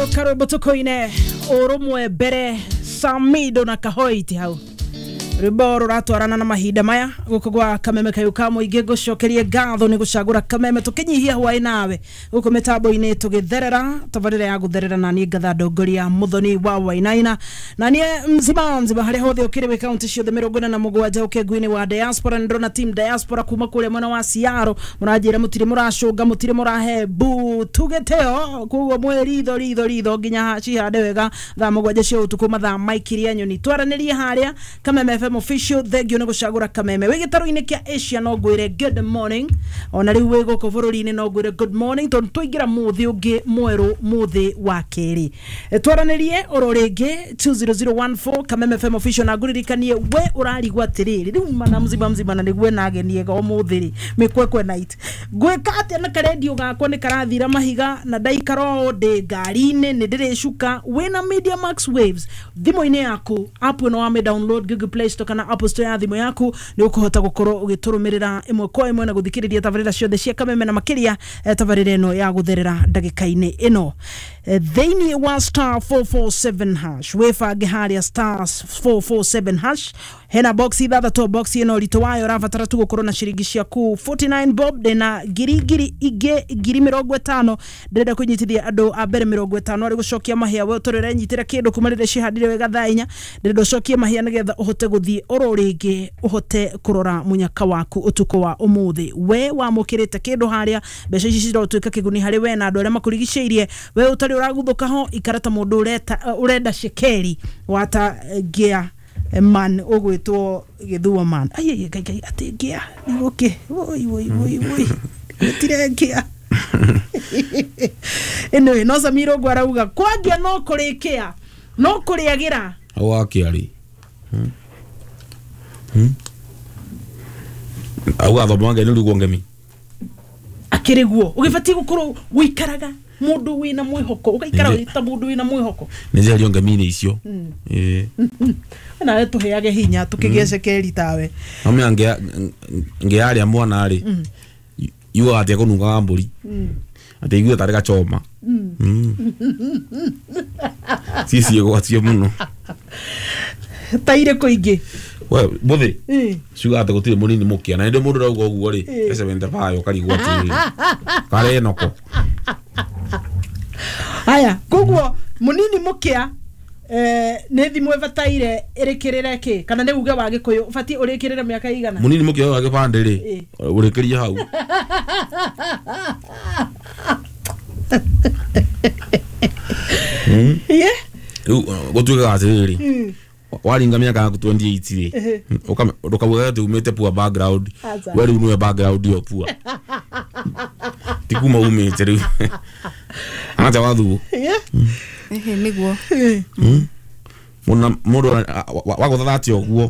Karwimbo tukoine urumwe mbere Samido na Kahoiti hau rwimbo ruratwarana na mahinda maya guku gwa Kameme kayu ka muingi ngucokerie ngatho ni gucagura Kameme tukinyihia hwai nawe guku mitambo-ini tugitherera tabarira ya gutherera na nie ngatha ndongoria Muthoni wa Wainaina na nie mzima mzima haria hothe ukiri wi kaunti ciothe 47 ukengu-ini wa diaspora ndona team diaspora kuma kuria mwena wa Ciaro muranjira mutire muracunga mutire murahe bu tugeteo koguo mwe ritho ritho ritho nginya cihande wega thaa 7 cia utuku mathaa maikiria nyoni twaranirie haria Kameme FM official thank you nä gå cagå ra Kameme wä gä taro-inä kä a Asia no ngwä re good morning ona rä u wä gå kå bå rå ri-inä no ngwä re good morning tondå twaingä ra må thä å ngä mwerå må thä wa kerä twaranä rie oro rä ngä 20014 Kameme FM official na ngũririkanie we ũrarigwo atĩrĩrĩ rĩu mana mzima mzima na nĩguo nageniega ũmũthĩ rĩ mĩkwekwe night ngwĩka atĩa na karendio gakwa nĩ karathira mahiga na ndaikara ũũ ndĩ ngari-inĩ nĩ ndĩrĩcuka wĩna Media Max Waves thimũ-inĩ yaku app ĩno wame download Google Play Store kana Apple Store ya thimũ yaku nĩ ũkũhota gũkorwo ũgĩtũrũmĩrĩra ĩmwe kwa ĩmwe na gũthikĩrĩria tabarĩra ciothe cia Kameme na makĩria tabarĩra ĩno ya gũtherera ndagĩka-inĩ ĩno thĩinĩ wa star 447 hash wĩbange harĩa star 447 hash hena box ithathatũ box ĩno ũritũ wayo ũrabatara tu gũkorwo na ciringi ciaku 49 bob ndĩna ngiri ngiri ingĩ ngiri 50 ndĩrenda kũnyitithia andũ a mbere 50 arĩ gũcokia mahĩa we ũtũrĩ ũrenyitĩra kĩndũ kuma rĩrĩa cihandire wega thaa inya ndĩrenda ũcokie mahĩa nĩgetha ũhote gũthiĩ oro rĩngĩ ũhote kũrora mũnyaka waku ũtukũ wa ũmũthĩ we wamũkĩrĩte kĩndũ harĩa mbeca ici cirotuĩka kĩguni harĩ we na andũ arĩa makũrigicĩirie we ũtarĩ ũraguthũka ho ikara ta mũndũ ũrenda cekeri wata ngĩa man ũgwĩtwo gĩthua man ai ai ngai atĩ ngĩa nĩgũkĩ woi woi woi woi gũtirĩ ngĩa anyway no Samiro ũguo arauga kwangia no kũrĩkĩa no kũrĩagĩra hau wakĩarĩ auga thoma nge nĩ ngemi akĩrĩ guo ũgĩbatiĩ gũkorwo gũikaraga mũndũ wĩna mwĩhoko ũgaikara wĩ ta mũndũ wĩna mwĩhoko nĩ njeherio ngemi-inĩ icio ĩĩ nawe tũheage hinya tũkĩgĩe cekeri tawe amenya ngĩaria mwana rĩ yugaga atĩ ekũnungaga mbũri atĩ igue tarĩ gachoma ciĩ mũno ta irĩkũ ingĩ we mũthĩ ciugaga atĩ gũtirĩ mũnini mũkĩa na nĩ mũndũ ũrauga ũguo rĩ e 75 ũkarigwo atĩrĩrĩ karĩ enoko haya koguo mũnini mũkĩa nĩ thimũ ĩbataire ĩrĩkĩrĩre kĩ kana nĩ uge wa gĩkũyũ ũbatiĩ ũrĩkĩrĩre mĩaka igana mũnini mũkĩa wa gĩbandĩ rĩ ũrĩkĩrie hau rĩu gũtuĩkaga atĩrĩrĩ waringa mĩaka yaku 28 rĩ ndũkauge atĩ umĩte poor background we rĩu nĩwe background ĩyo poor ti kuma umĩte rĩu anacha wathuo nĩguo mũndũ wagũthatha ũguo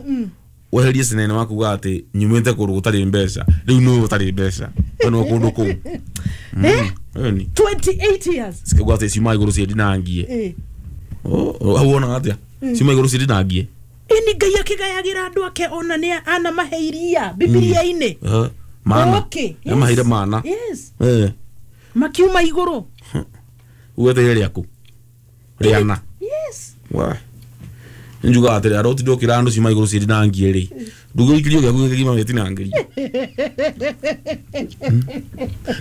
weherie cinene wakuga atĩ nyumĩte kũndũ gũtarĩ mbeca rĩu nĩwe ũtarĩ mbeca we nĩwe kũndũ kũu 28 years cikauga atĩ ciuma igũrũ ciendinangie hau wonaga atĩa ciuma igũrũ ciendinangie ĩni Ngai akĩgayagĩra andũ ake ona nĩ anamahe iria Bibilia-inĩ mana nĩamaheire mana makiuma igũrũ ugeteire rĩaku rĩana njugaga atĩrĩ arĩa ũtinde ũkĩra andũ ciuma igũrũ ciendinangie rĩ ndũgĩikirio gĩaku gĩkĩgima gĩtinangĩrio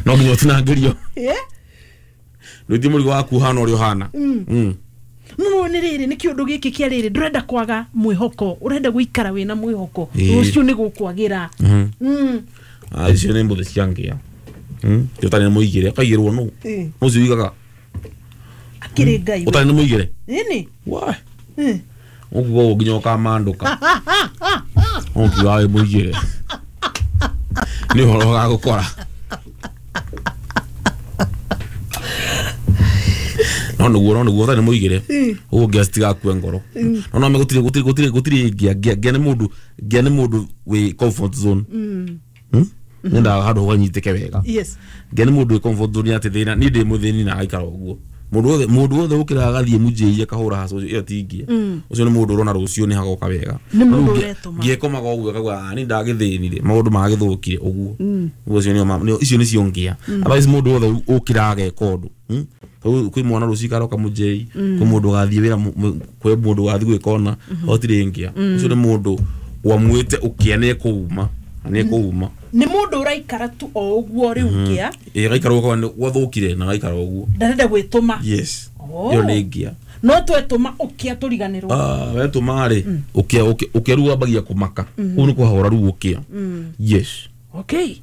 no nginya ũtinangĩrio ndũitie mũrigo waku ũhana ũrĩa ũhana no nĩ rĩrĩ nĩ kĩũndũ gĩkĩ kĩa rĩrĩ ndũrenda kwaga mwĩhoko ũrenda gũikara wĩna mwĩhoko rũciũ nĩ gũkwagĩra icio nĩ mbũthĩ cia ngĩa ũtarĩ nĩ mũigĩre ũkaigĩrwo nũ ũcio uigaga akĩrĩ Ngai ũtarĩ nĩ mũigĩre ĩni ũkuga ũguo nginya ũkamandũka ũkiuga wĩ mũigĩre nĩ ũhoro ũgagũkora no nĩguo ũtarĩ nĩ mũigĩre ũguo ngĩa citigakue ngoro no no gũtirĩ gũtirĩ gũtirĩ gũtirĩ ngĩa ngĩa nĩ mũndũ ngĩa nĩ mũndũ wĩ comfort zone nyendaga handũ hanyitĩke wega ngĩa nĩ mũndũ wĩ comfort zone atĩ thĩna niĩ ndĩ mũthĩni na agaikara ũguo Mundu wothe ukira agathie mujei akahura haco iyo tingia. Ucio ni mundu urona rucio ni hagoka wega. Ni mundu uretuma. Ngiekomaga uguo akauga ni ndagithinire maundu magithukire uguo. Ucio ni icio ni cio ngia. Otherwise mundu wothe ukira ageka undu. Kwi mwana rucio karoka mujei, kwi mundu gathie wira, kwi mundu gathie gwikona, gotire ngia. Ucio ni mundu wamwite ukia ni kuuma. Ni kuuma. Ni mundu uraikara tu o uguo riu ngia. Ĩ gaikara uguo gwathukire na gaikara uguo. Ndarenda gwituma. Yes. Iyo ni ngia. No twetuma ukia turiganirwo. Wetuma ri ukia ukia ruo ambagia kumaka. Kuu ni kuhahura ruo ukia. Yes. Okay.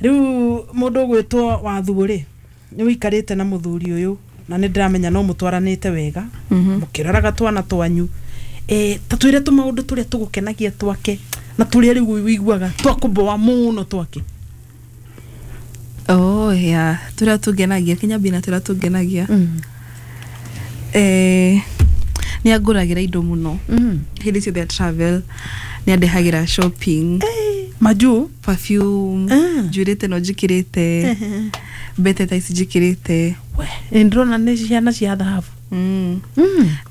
Riu mundu ugwitwo Wathuo ri ni wikarite na muthuri uyu na ni ndiramenya no mutwaranite wega mukiraraga twana twanyu ta twire tu maundu turia tugukenagia twake na turia riu wiguaga twakuboa muno twake. Oh yeah, turia tugenagia kinya bina turia tugenagia. Ni anguragira indo muno. Hindi ciothe travel ni andehagira shopping. Maju perfume njurite no njikirite mbete ta ici njikirite. We ndirona ni ciana cia thahabu. Ni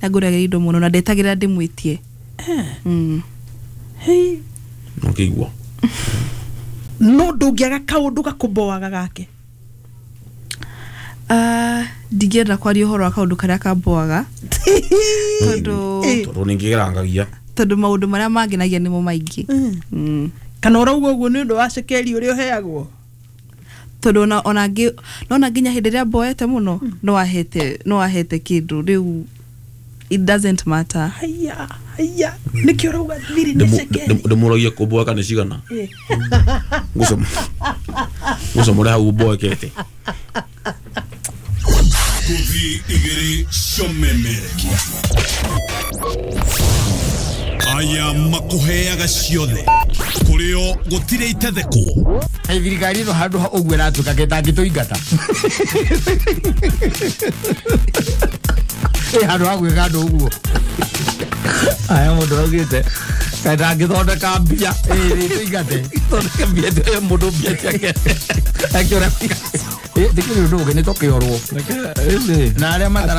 anguragira indo muno na ndetagira ndimwitie. Hey. Nokigwa. No ndungiaga kaundu gakuboaga gake. Ndingĩenda kwaria ũhoro wa kaũndũ karĩa kamboaga. Tondu ningĩgerangagia. Tondu maũndũ marĩa mangenagia nĩmo maingĩ. Kana ũrauga ũguo nĩ ũndũ wa cekeri ũrĩa ũheagwo? Tondu ona nona nginya hĩndĩ ĩrĩa mboete mũno no ahete kĩndũ rĩu it doesn't matter. Haya haya nĩkĩo ũrauga thiri nĩ cekeri. Ndĩmũragia kũmboeka nĩ cigana. Ngũcomore hau mboekete. Kuthi igiri cionemerekia. Aya makuheaga ciothe kurio gutire itethekwo. Thirikari ĩno handũ ha ũguo ĩratuĩka ketangĩtũingata. Handũ ha gwĩka andũ ũguo. Aya mũndũ augĩte ketangĩthondeka mbia ĩtũingate. Thondeke mbia mũndũ mbia ciake. Akĩũra ndikĩrĩ ũndũ ũngĩ nĩ tũkĩorwo. Na arĩa matara